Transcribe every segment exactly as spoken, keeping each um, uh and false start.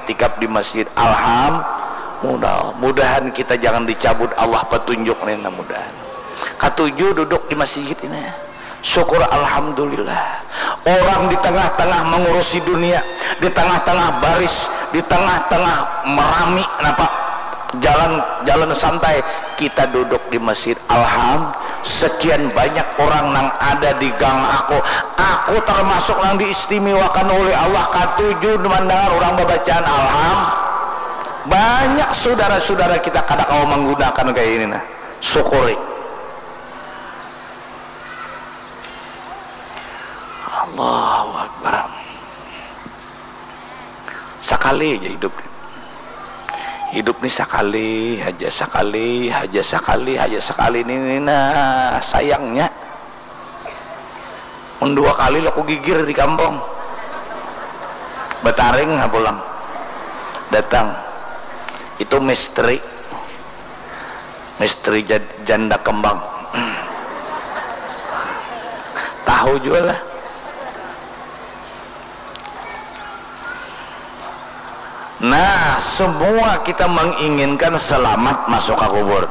Iktikaf di masjid. Alhamdulillah. Mudahan kita jangan dicabut Allah petunjuk ni, nah, mudahan. Katuju duduk di masjid ini. Syukur, alhamdulillah. Orang di tengah-tengah mengurusi dunia, di tengah-tengah baris, di tengah-tengah merami, napa, jalan, jalan santai, kita duduk di masjid. Alham, sekian banyak orang nang ada di gang aku. Aku termasuk nang diistimewakan oleh Allah, katuju mendengar orang babacaan. Alham, banyak saudara-saudara kita kada kawa menggunakan kayak ini, nah. Syukuri. Allahu Akbar. Sakali aja hidup. Hidup ni sakali haja, sakali haja, sakali haja, sakali ni, ni, nah, sayangnya. Mun dua kali lah ku gigir di kampung. Bataring ha pulang. Datang. Itu misteri. Misteri jad-, janda kembang. Tahu jua lah. Nah, semua kita menginginkan selamat masuk ke kubur.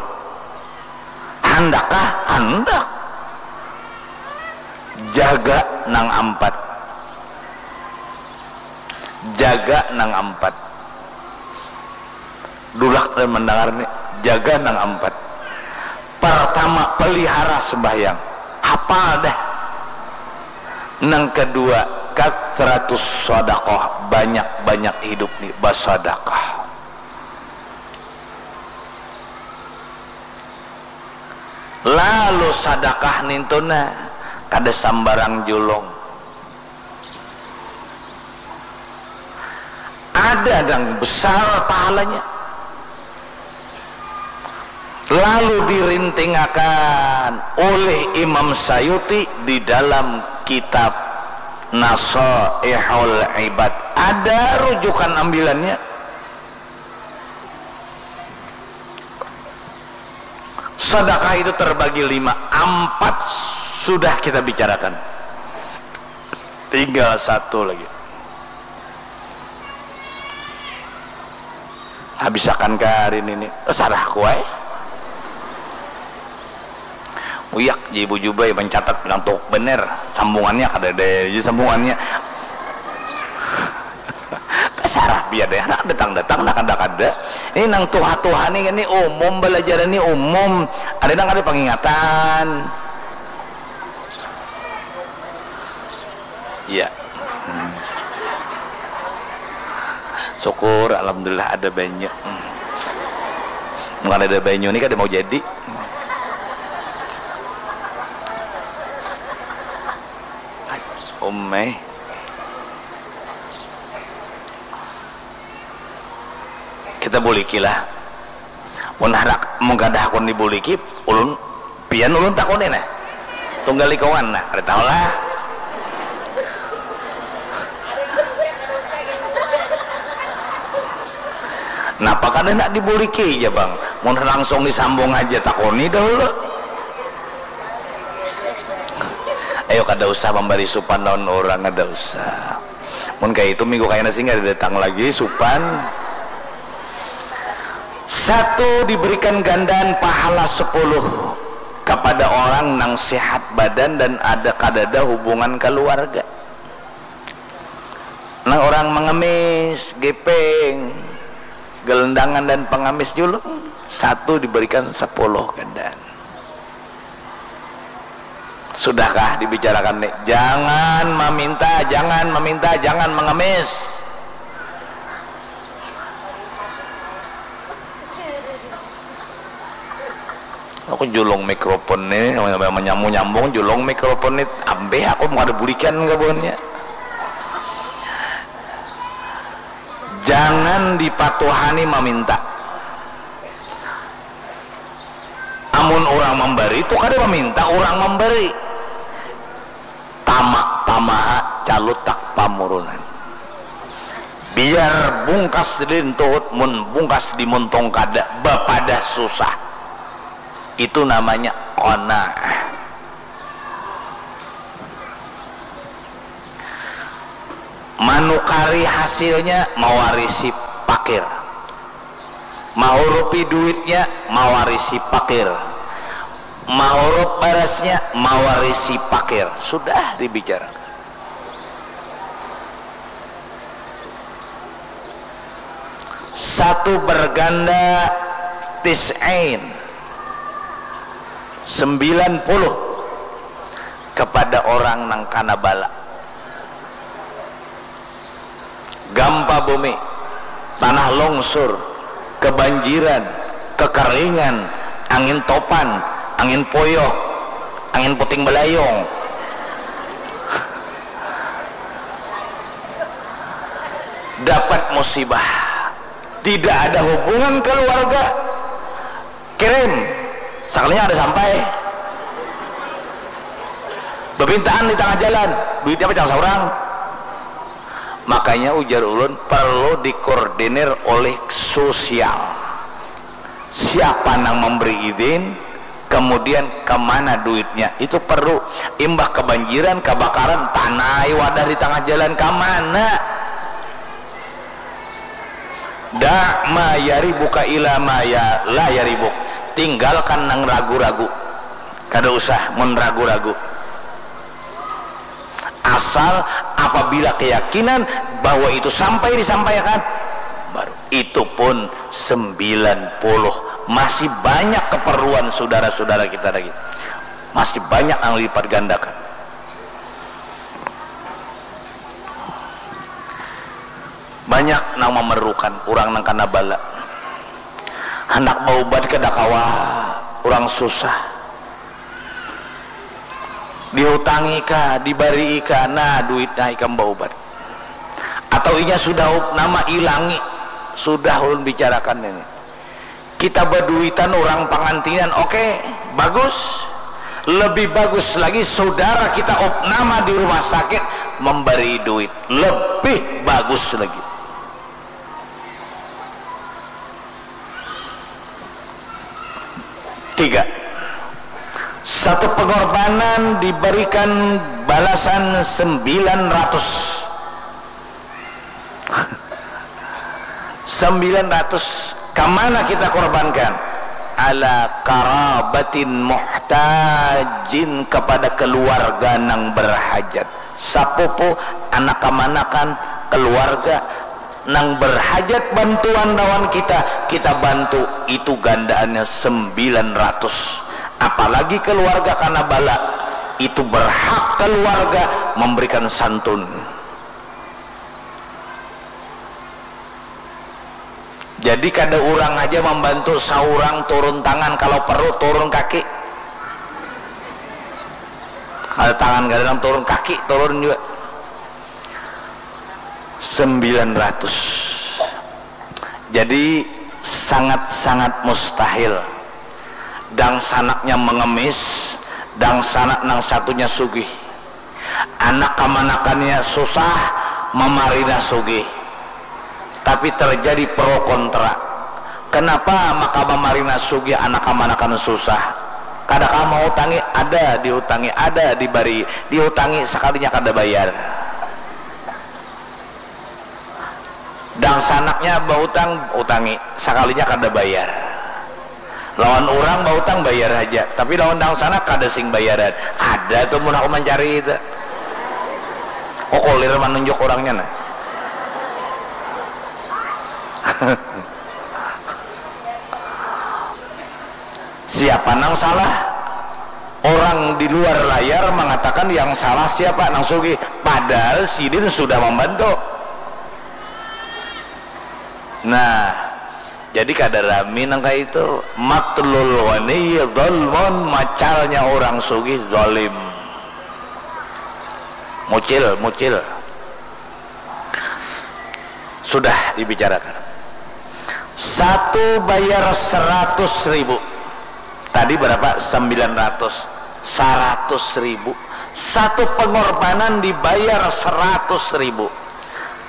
Handakkah? Handak. Jaga nang ampat. Jaga nang ampat. Dulak dan mendengar ni, jaga nang ampat. Pertama, pelihara sembahyang. Hafal dah. Nang kedua, kasratus sadaqah, banyak-banyak hidup ni basadakah. Lalu sadakah nintuna, kada sambarang julung. Ada nang besar pahalanya. Lalu dirintingakan oleh Imam Sayuti di dalam kitab Nasaihul Ibad. Ada rujukan ambilannya. Sedekah itu terbagi lima, empat sudah kita bicarakan. Tinggal satu lagi. Habisakan ka hari ini. Terserah ku ai. Uyak ji Ibu Jubai mencatat bilang tuh bener. Sambungannya kada ada aja sambungannya. Tasarah biar deh, anak datang-datang, anak kada-kada. Ini nang tuha-tuha nih, ini umum, belajar ini umum. Ada nang ada pengingatan. Iya. Hmm. Syukur, alhamdulillah ada banyu. Hmm. Bukan ada banyu ini kada mau jadi. Umai. Kita buliki lah. Mun handak, mun kada hakun dibuliki, ulun, pian ulun takuni nah. Tunggal lingkungan nah, kada tahu lah. Napa kada nak dibuliki ja bang? Mun langsung disambung haja takuni dahulu. Ayo kada usah mambari supan lawan urang, kada usah. Mun kaya itu minggu kaina singgah datang lagi supan. Satu diberikan gandaan pahala sepuluh kepada orang nang sehat badan dan ada kadada hubungan keluarga. Nang orang mengemis, gepeng, gelendangan dan pengemis julung, satu diberikan sepuluh gandaan. Sudahkah dibicarakan nih? Jangan meminta, jangan meminta, jangan mengemis. Aku julung mikrofon nih, menyambung-nyambung julung mikrofon nih, ambeh aku mau ada bulikan kabuhannya. Jangan dipatuhani meminta. Amun urang mambari tu kada maminta urang mambari. Tamak pamaha calutak pamurunan. Biar bungkas di lintuhut mun bungkas di muntung kada bapadah susah. Itu namanya qanaah. Manukari hasilnya mawarisi pakir. Mahurupi duitnya, mawarisi pakir. Mahurup barasnya, mawarisi pakir. Sudah dibicarakan. Satu berganda tis'in, sembilan puluh kepada orang nang kana bala. Gampa bumi, tanah longsur, kebanjiran, kekeringan, angin topan, angin poyoh, angin puting beliung. Dapat musibah, tidak ada hubungan keluarga, kirim, sakalinya ada sampai. Bepintaan di tangah jalan, duitnya pacang saurang. Makanya ujar ulun, perlu dikoordinir oleh sosial. Siapa nang memberi izin, kemudian kemana duitnya, itu perlu. Imbah kebanjiran, kebakaran, tanai wadah di tangah jalan, kemana? Da' ma yaribuka ila ma ya, la yaribuk. Tinggalkan nang ragu-ragu. Kada usah mun ragu-ragu. Asal apabila keyakinan bahwa itu sampai disampaikan, baru. Itu pun sembilan puluh. Masih banyak keperluan saudara-saudara kita lagi. Masih banyak yang lipat gandakan. Banyak nang memerlukan, urang nang kana bala. Handak baubat kada kawa, urang susah. Diutangi kah, dibarii kah, nah, duitnya ikam baubat. Atau inya sudah opname, ilangi, sudah ulun bicarakan ini. Kita baduitan urang pangantinan, oke, bagus. Lebih bagus lagi saudara kita opname di rumah sakit memberi duit. Lebih bagus lagi. Tiga. Satu pengorbanan diberikan balasan sembilan ratus. Sembilan ratus. Kamana kita korbankan? Ala karabatin muhtajin, kepada keluarga nang berhajat. Sapupu, anak kamanakan, keluarga nang berhajat bantuan lawan kita, kita bantu, itu gandaannya sembilan ratus. Apalagi keluarga kana bala, itu berhak keluarga memberikan santun. Jadi kada urang haja mambantu, saurang turun tangan, kalau perlu turun kaki. Kada tangan kada nang turun, kaki turun jua. Sembilan ratus. Jadi sangat-sangat mustahil dangsanaknya mengemis, dangsanak nang satunya sugih. Anak kamanakannya susah, mamarina sugih. Tapi terjadi pro kontra. Kenapa maka mamarina sugih, anak kamanakan susah? Kada kah mautangi? Ada diutangi, ada dibari, diutangi, sakalinya kada bayar. Dangsanaknya bautang, utangi, sakalinya kada bayar. Lawan urang bautang bayar haja, tapi lawan dangsanak kada sing bayaran. Ada tu mun aku mancari itu. Kokolir manunjuk urangnya nah. Siapa nang salah? Orang di luar layar mengatakan yang salah siapa? Nang sugih. Padahal sidin sudah membantu. Nah, jadi kada rami nang kaya itu. Matlul ghani zalmun, macalnya orang sugih zalim. Mucil, mucil. Sudah dibicarakan. Satu bayar seratus ribu. Tadi berapa? Sembilan ratus. Seratus ribu. Satu pengorbanan dibayar seratus ribu.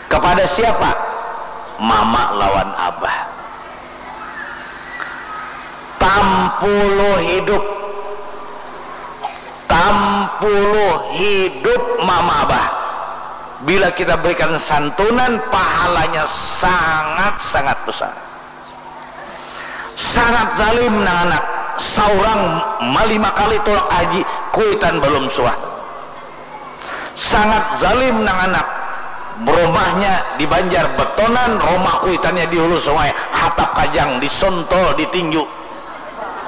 Kepada siapa? Mama lawan abah. Tampulu hidup. Tampulu hidup mama abah. Bila kita berikan santunan, pahalanya sangat-sangat besar. Sangat zalim nang anak, saurang malima kali tulak haji, kuitan balum suah. Sangat zalim nang anak, rumahnya di Banjar betonan, rumah kuitannya di hulu sungai, hatap kajang, disontol, ditinju,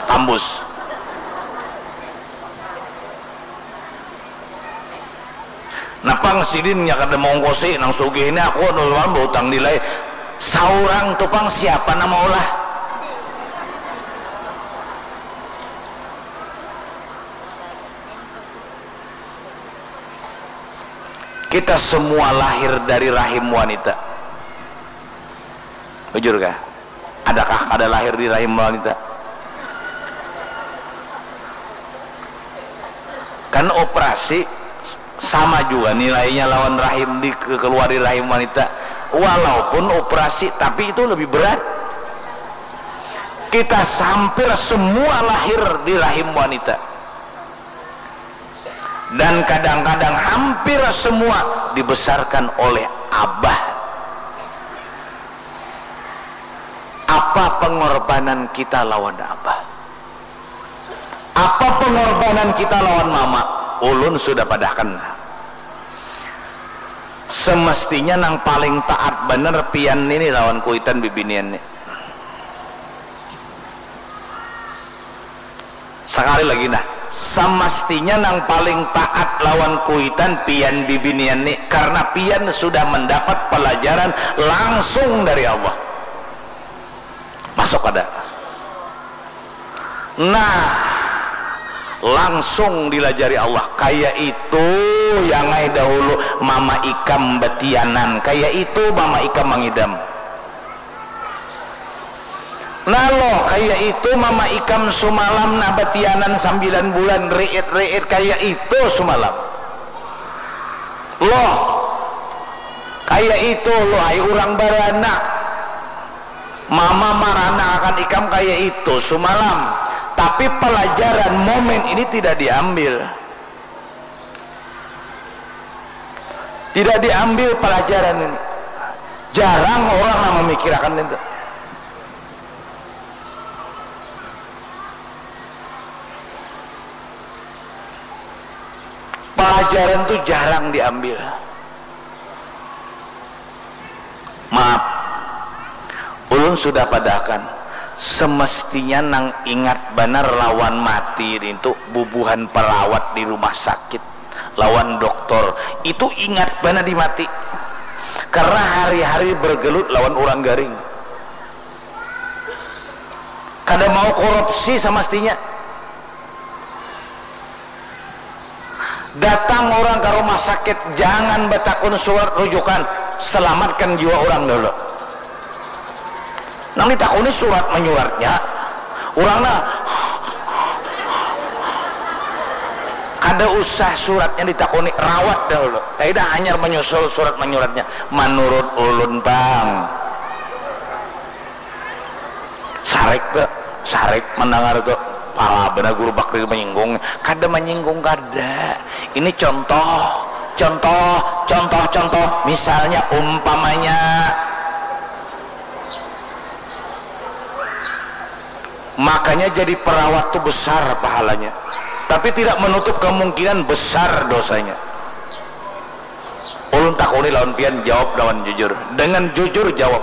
tambus. Napang sidin nya kada maungkusi nang sugih ini, aku anu bautang nilai saurang tu pang, siapa nang maulah? Kita semua lahir dari rahim wanita. Bujur kah? Adakah kada lahir di rahim wanita? Kan operasi sama juga nilainya lawan rahim, dikeluari rahim wanita. Walaupun operasi, tapi itu lebih berat. Kita hampir semua lahir di rahim wanita. Dan kadang-kadang hampir semua dibesarkan oleh abah. Apa pengorbanan kita lawan abah? Apa pengorbanan kita lawan mama? Ulun sudah padahkan. Semestinya nang paling taat banar pian ini lawan kuitan bibinian ni. Sakali lagi nah, samastinya nang paling taat lawan kuitan pian bibinian ni, karna pian sudah mandapat palajaran langsung dari Allah. Masuk kada? Nah, langsung dilajari Allah. Kaya itu yang ai dahulu mama ikam batianan, kaya itu mama ikam mangidam. Nah lo, kaya itu mama ikam sumalam nah batianan sambilan bulan, riit-riit kaya itu sumalam. Lo, kaya itu lo ai urang baranak. Mama maranakan ikam kaya itu sumalam. Tapi palajaran momen ini tidak diambil. Tidak diambil palajaran ini. Jarang orang nang mamikirakan itu. Palajaran tu jarang diambil. Maaf, ulun sudah padahkan, semestinya nang ingat banar lawan mati nintu bubuhan perawat di rumah sakit lawan doktor, itu ingat banar di mati. Karena hari-hari bergelut lawan urang garing. Kada mau korupsi samestinya. Datang urang ka rumah sakit, jangan batakun surat rujukan, selamatkan jiwa urang dahulu. Nang ditakuni surat manyuratnya, urang nah kada usah suratnya ditakuni, rawat dahulu. Taida hanyar manyusul surat manyuratnya. Manurut ulun pang. Sarik tu, sarik mandangar tu. Pala banar Guru Bakri manyinggung. Kada manyinggung, kada. Ini contoh, contoh, contoh, contoh. Misalnya, umpamanya, makanya jadi perawat tu besar pahalanya. Tapi tidak menutup kemungkinan besar dosanya. Ulun takuni lawan pian, jawab lawan jujur. Dengan jujur jawab.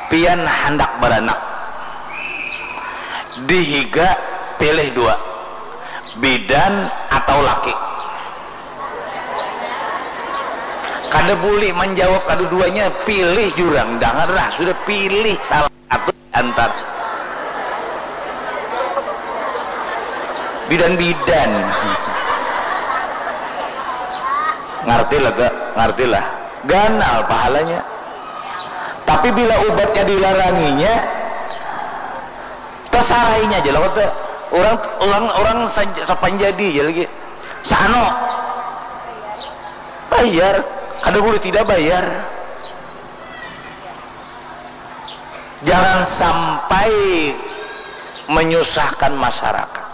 Pian handak baranak. Dihiga pilih dua. Bidan atau laki. Kada bulih manjawab kaduduanya, pilih jurang. Dangarlah, sudah pilih salah satu. Antar bidan-bidan. Ngarti lah, ngarti lah. Ganal pahalanya. Tapi bila ubatnya dilaranginya, tasarainya aja lah kata orang, orang, orang sapanjadi aja lagi. Sano bayar, kada boleh tidak bayar. Jangan sampai menyusahkan masyarakat.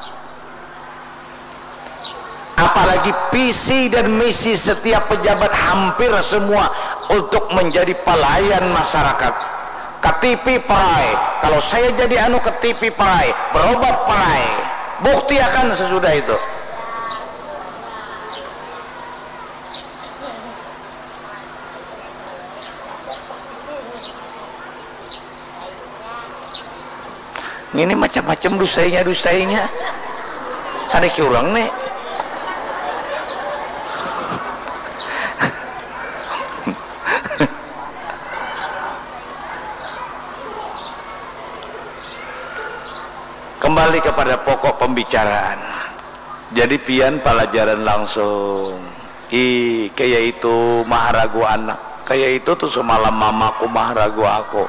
Apa Apalagi visi dan misi setiap pejabat hampir semua untuk menjadi pelayan masyarakat. K T P perai, kalau saya jadi anu K T P perai, berobat perai. Buktiakan sesudah itu. Ini macam-macam dusainya, dusainya. Sadiki urang nih. Kembali kepada pokok pembicaraan. Jadi pian palajaran langsung. Ih, kaya itu maharagu anak. Kaya itu tuh semalam mamaku maharagu aku.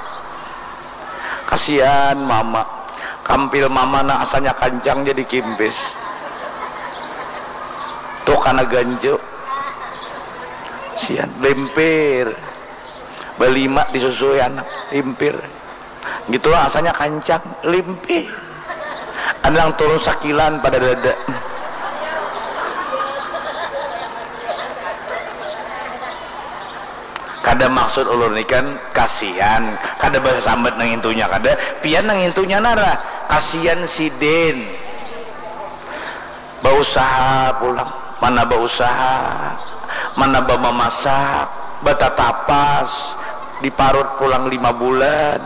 Kasian mama. Kampil mama nang asalnya kancang jadi kimpis. Tuh kana ganju. Sian, limpir. Balima disusui anak, limpir. Gitu lah, asalnya kancang, limpir. Ada nang turun sakilan pada dada. Kada maksud ulun ni kan kasian, kada basambat nang intunya kada, pian nang intunya nara kasian sidin. Bausaha pulang, mana bausaha, mana bamamasak, batatapas, diparut pulang lima bulan.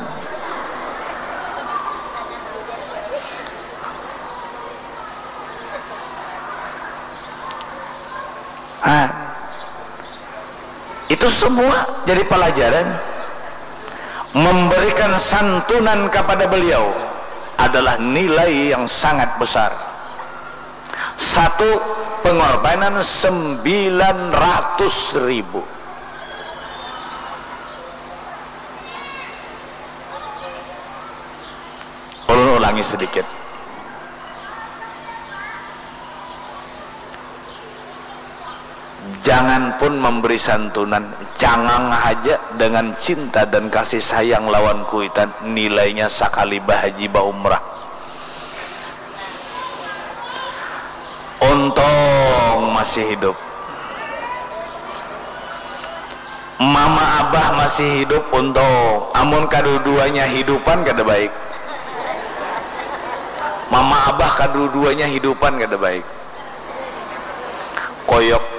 Ah, itu semua jadi pelajaran. Memberikan santunan kepada beliau adalah nilai yang sangat besar. Satu, pengorbanan sembilan ratus ribu. Ulun ulangi sedikit. Jangan pun memberi santunan, cangang haja dengan cinta dan kasih sayang lawan kuitan, nilainya sakali bahaji baumrah. Untung masih hidup. Mama abah masih hidup, untung. Amun kaduduanya hidupan kada baik. Mama abah kaduduanya hidupan kada baik. Koyok.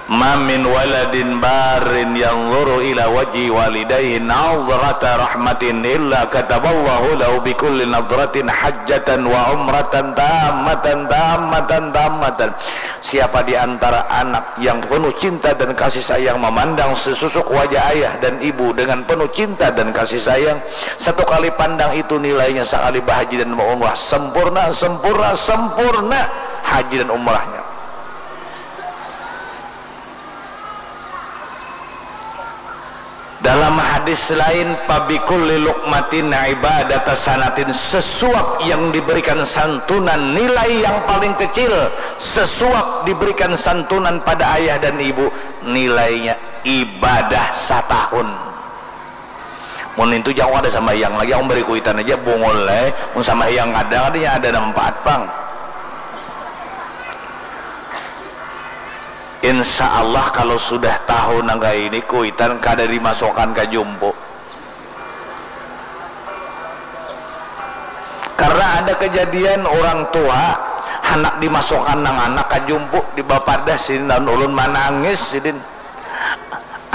Ma min waladin barin yanzuru ila wajhi walidayhi nazrata rahmatin illa kataballahu lahu bikulli nazratin hajjatan wa umratan tammatan, tammatan, tammatan. Siapa di antara anak yang penuh cinta dan kasih sayang memandang sesusuk wajah ayah dan ibu dengan penuh cinta dan kasih sayang, satu kali pandang itu nilainya sakali bahaji dan umrah sempurna, sempurna, sempurna haji dan umrahnya. Dalam hadis lain, "Fabikulli luqmatin ibadata sanatin," sesuap yang diberikan santunan, nilai yang paling kecil, sesuap diberikan santunan pada ayah dan ibu, nilainya ibadah satahun. Mun nintu jangan ada sambahyang lagi, aku beri kuitan aja bungul eh. Mun sambahyang kada, kadanya ada manfaat pang. Insya Allah kalau sudah tahu nang kaya ini kuitan kada dimasukkan ka jumpu. Karena ada kejadian orang tua, handak dimasukkan nang anak ka jumpu, dibapadah sidin lawan ulun manangis sidin.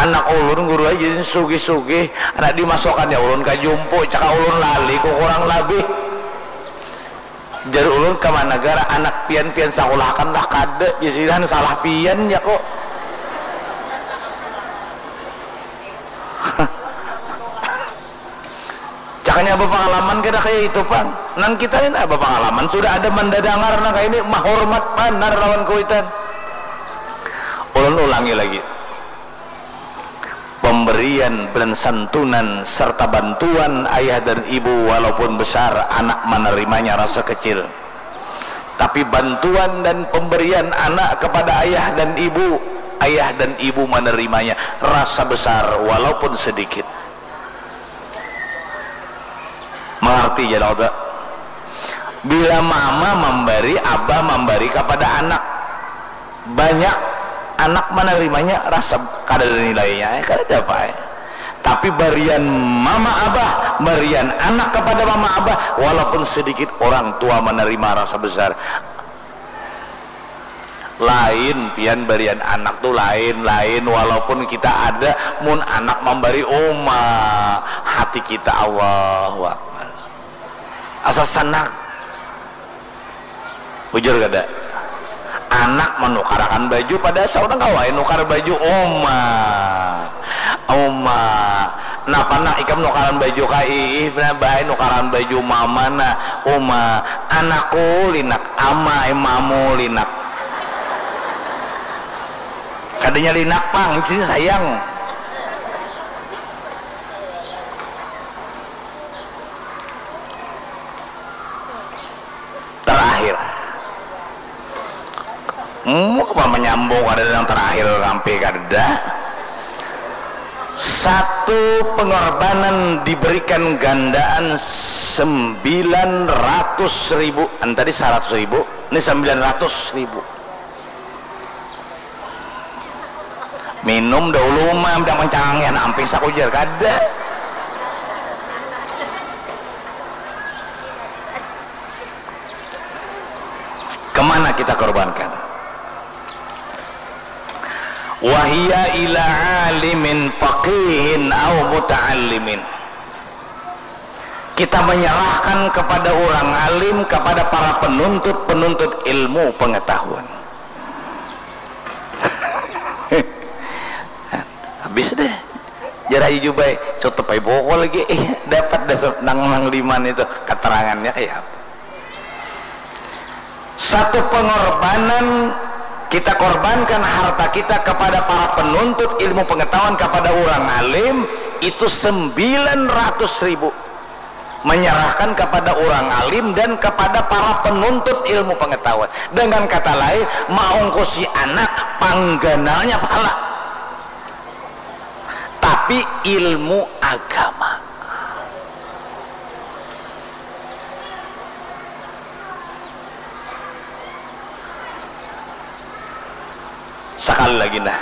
Anak ulun guru ai jadi sugih-sugih, handak dimasukkannya ulun ka jumpu, caka ulun lali ku kurang labih. Jar ulun, ka mana gara anak pian, pian sakulahakan lah kada, jar sidin, salah pian jar ku. Cakanya bapangalaman kada kaya itu pang. Nang kita ni nah bapangalaman, sudah ada mandadangar nang kaya ini, mahormat banar lawan kuitan. Ulun ulangi lagi. Pemberian dan santunan serta bantuan ayah dan ibu walaupun besar, anak menerimanya rasa kecil. Tapi bantuan dan pemberian anak kepada ayah dan ibu, ayah dan ibu menerimanya rasa besar walaupun sedikit. Mengerti jar kada? Bila mama mambari, abah mambari kapada anak, banyak anak manarimanya rasa kadada nilainya, eh, kadada apa, eh. Tapi barian mama abah, barian anak kapada mama abah, walaupun sedikit orang tua manarima rasa besar. Lain pian barian anak tu lain, lain walaupun kita ada, mun anak mambari uma, hati kita Allahu Akbar. Asa sanang. Bujur kada? Anak manukarakan baju, padahal saurang kawa ai nukar baju. Uma, uma, napa nak ikam nukaran baju ka iih, nah baai nukaran baju mama nah. Uma, anakku linak, ama ai mamu linak. Kadanya linak pang, sini sayang. Terakhir. Muk apa menyambung ada yang terakhir sampai kada. Satu pengorbanan diberikan gandaan sembilan ratus ribu. Kan tadi seratus ribu, ini sembilan ratus ribu. Minum dahulu mah, udah mencangangnya nampis aku jar kada. Kemana kita korbankan? Wahia ila alimin faqihin au muta'allimin. Kita menyerahkan kepada orang alim, kepada para penuntut-penuntut ilmu pengetahuan. Habis deh. Jar Haji Jubai, tutup ai buku lagi. Eh, dapat dah se-, nang, nang liman itu keterangannya kayak apa. Satu pengorbanan, kita korbankan harta kita kepada para penuntut ilmu pengetahuan, kepada orang alim, itu sembilan ratus ribu. Menyerahkan kepada orang alim dan kepada para penuntut ilmu pengetahuan. Dengan kata lain, maungkusi anak pangganalnya pahala. Tapi ilmu agama. Sekali lagi nah,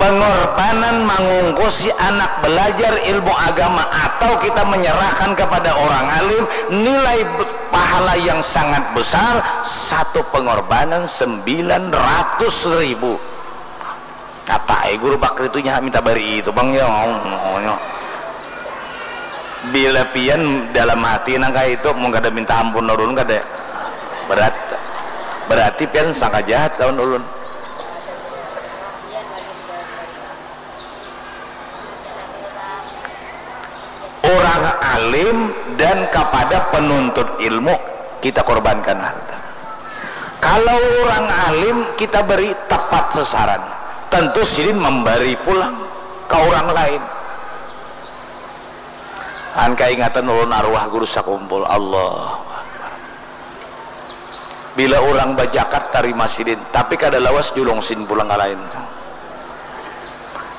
pengorbanan mangungkusi anak belajar ilmu agama atau kita menyerahkan kepada orang alim, nilai be-, pahala yang sangat besar, satu pengorbanan sembilan ratus ribu. Kata ai guru bakri tu nyaha minta bari itu pang ya, maunya. Bila pian dalam hati nang kaya itu, mun kada minta ampun ulun kada, berat. Berarti pian sangka jahat lawan ulun. Orang alim dan kapada penuntut ilmu kita korbankan harta. Kalau orang alim kita beri tepat sasaran, tentu sidin memberi pulang ke orang lain. An kaingatan ulun arwah guru sakumpul. Allahu Akbar. Bila urang bajakat tarima sidin, tapi kada lawas julung sidin pulang ka lain.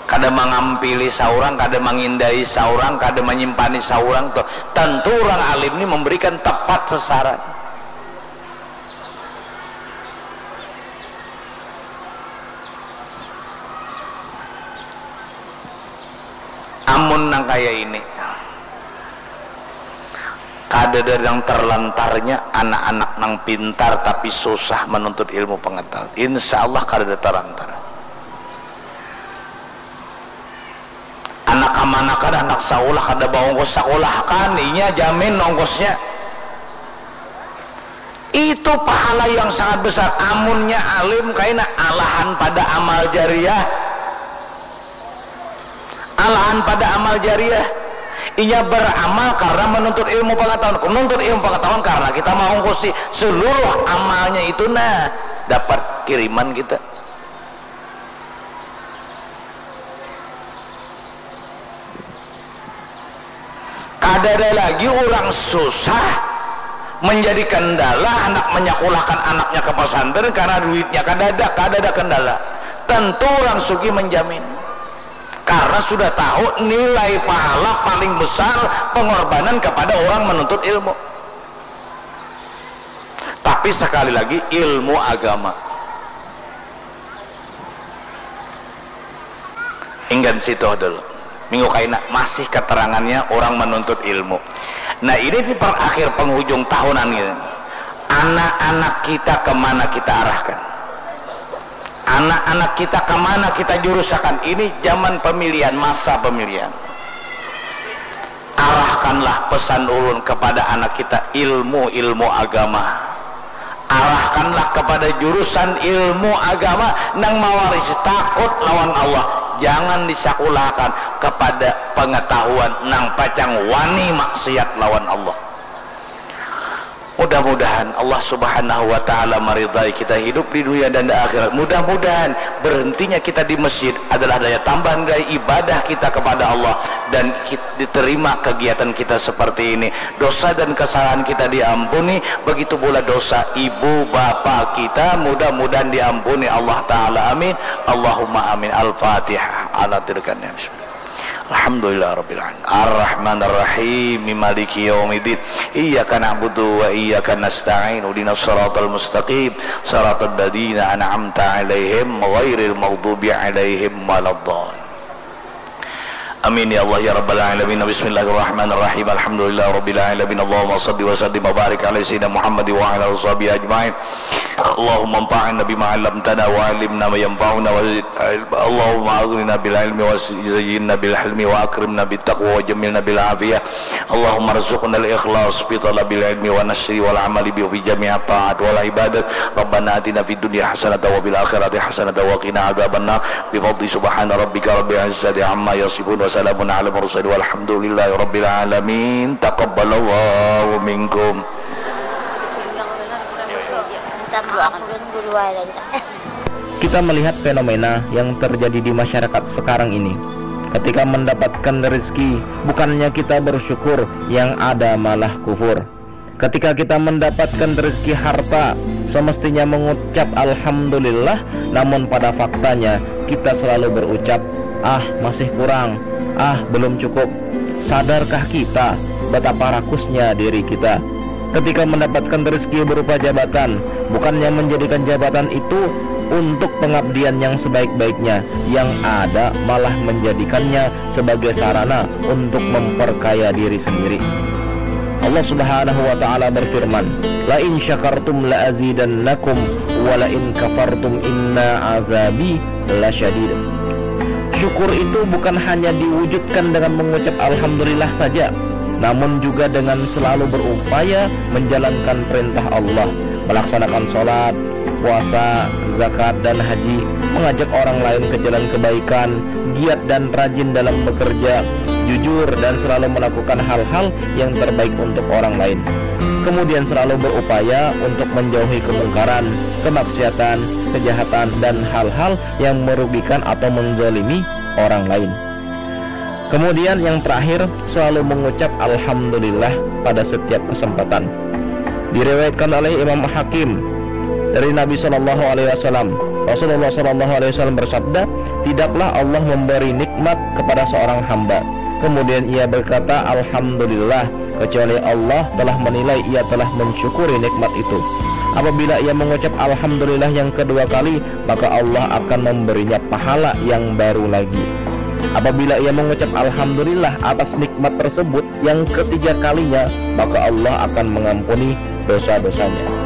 Kada mangampili saurang, kada mangindai saurang, kada manyimpani saurang tuh. Tentu urang alim ni memberikan tepat sasaran. Amun nang kaya ini, kadada nang terlantarnya anak-anak nang pintar tapi susah menuntut ilmu pengetahuan. Insya Allah kadada terlantar. Anak kamanakan, anak saulah kada baungkus sakulah kan, inya jamin ongkosnya. Itu pahala yang sangat besar. Amunnya alim kaina alahan pada amal jariah. Alahan pada amal jariah. Inya beramal karena menuntut ilmu pengetahuan. Menuntut ilmu pengetahuan karena kita mengungkusi seluruh amalnya itu, nah, dapat kiriman kita. Kadada lagi urang susah menjadi kendala handak manyakulahkan anaknya ka pasantren karena duitnya kadada, kadada kendala. Tentu urang sugih menjamin. Karena sudah tahu nilai pahala paling besar pengorbanan kepada orang menuntut ilmu. Tapi sekali lagi, ilmu agama. Hinggan situ dulu. Minggu kaina masih keterangannya orang menuntut ilmu. Nah, ini di per akhir penghujung tahunan ini. Anak-anak kita kemana kita arahkan? Anak-anak kita kemana kita jurusakan? Ini zaman pemilihan, masa pemilihan. Arahkanlah pesan ulun kepada anak kita ilmu-ilmu agama. Arahkanlah kepada jurusan ilmu agama nang mawarisi takut lawan Allah. Jangan disakulakan kepada pengetahuan nang pacang wani maksiat lawan Allah. Mudah-mudahan Allah Subhanahu wa Ta'ala meridai kita hidup di dunia dan di akhirat. Mudah-mudahan berhentinya kita di masjid adalah daya tambahan dari ibadah kita kepada Allah dan kit- diterima kegiatan kita seperti ini. Dosa dan kesalahan kita diampuni, begitu pula dosa ibu bapa kita mudah-mudahan diampuni Allah Ta'ala. Amin. Allahumma amin. Al-Fatihah. Ala tirkan ya. Alhamdulillah Rabbil Alamin. Ar-Rahman Ar-Rahim. Maliki yaumiddin. Iyyaka na'budu wa iyyaka nasta'in. Ihdinas siratal mustaqim. Siratal ladzina an'amta 'alaihim ghairil maghdubi 'alaihim waladdallin. Amin ya Allah ya Rabbal Alamin. Bismillahirrahmanirrahim. Alhamdulillah Rabbil Alamin. Allahumma salli wa sallim wa barik ala Sayyidina Muhammad wa ala alihi wa sahbihi ajma'in. Allahumma anfa'na bima 'allamtana wa 'allimna ma yanfa'una wa zid ilma. Allahumma aghnina bil ilmi wa zayyinna bil hilmi wa akrimna bit taqwa wa jammilna bil afiyah. Allahumma rzuqna al ikhlas fi talabil ilmi wa nashri wal amali bi fi jami'at ta'at wal ibadat. Rabbana atina fid dunya hasanatan wa fil akhirati hasanatan wa qina adzabannar. Bi fadli subhana rabbika rabbil izzati amma yasifun wa salamun ala mursalin walhamdulillahi rabbil alamin. Taqabbalallahu minkum. Kita melihat fenomena yang terjadi di masyarakat sekarang ini. Ketika mendapatkan rezeki, bukannya kita bersyukur, yang ada malah kufur. Ketika kita mendapatkan rezeki harta, semestinya mengucap alhamdulillah, namun pada faktanya kita selalu berucap, "Ah, masih kurang. Ah, belum cukup." Sadarkah kita betapa rakusnya diri kita? Ketika mendapatkan rezeki berupa jabatan, bukannya menjadikan jabatan itu untuk pengabdian yang sebaik-baiknya, yang ada malah menjadikannya sebagai sarana untuk memperkaya diri sendiri. Allah Subhanahu wa taala berfirman, "La in syakartum la azidannakum wa la in kafartum inna azabi lasyadid." Syukur itu bukan hanya diwujudkan dengan mengucap alhamdulillah saja, namun juga dengan selalu berupaya menjalankan perintah Allah, melaksanakan sholat, puasa, zakat, dan haji, mengajak orang lain ke jalan kebaikan, giat dan rajin dalam bekerja, jujur dan selalu melakukan hal-hal yang terbaik untuk orang lain. Kemudian selalu berupaya untuk menjauhi kemungkaran, kemaksiatan, kejahatan, dan hal-hal yang merugikan atau menzalimi orang lain. Kemudian yang terakhir, selalu mengucap alhamdulillah pada setiap kesempatan. Diriwayatkan oleh Imam Hakim dari Nabi Shallallahu Alaihi Wasallam, Rasulullah Shallallahu Alaihi Wasallam bersabda, "Tidaklah Allah memberi nikmat kepada seorang hamba, kemudian ia berkata, 'Alhamdulillah,' kecuali Allah telah menilai ia telah mensyukuri nikmat itu. Apabila ia mengucap alhamdulillah yang kedua kali, maka Allah akan memberinya pahala yang baru lagi. Apabila ia mengucap alhamdulillah atas nikmat tersebut yang ketiga kalinya, maka Allah akan mengampuni dosa-dosanya."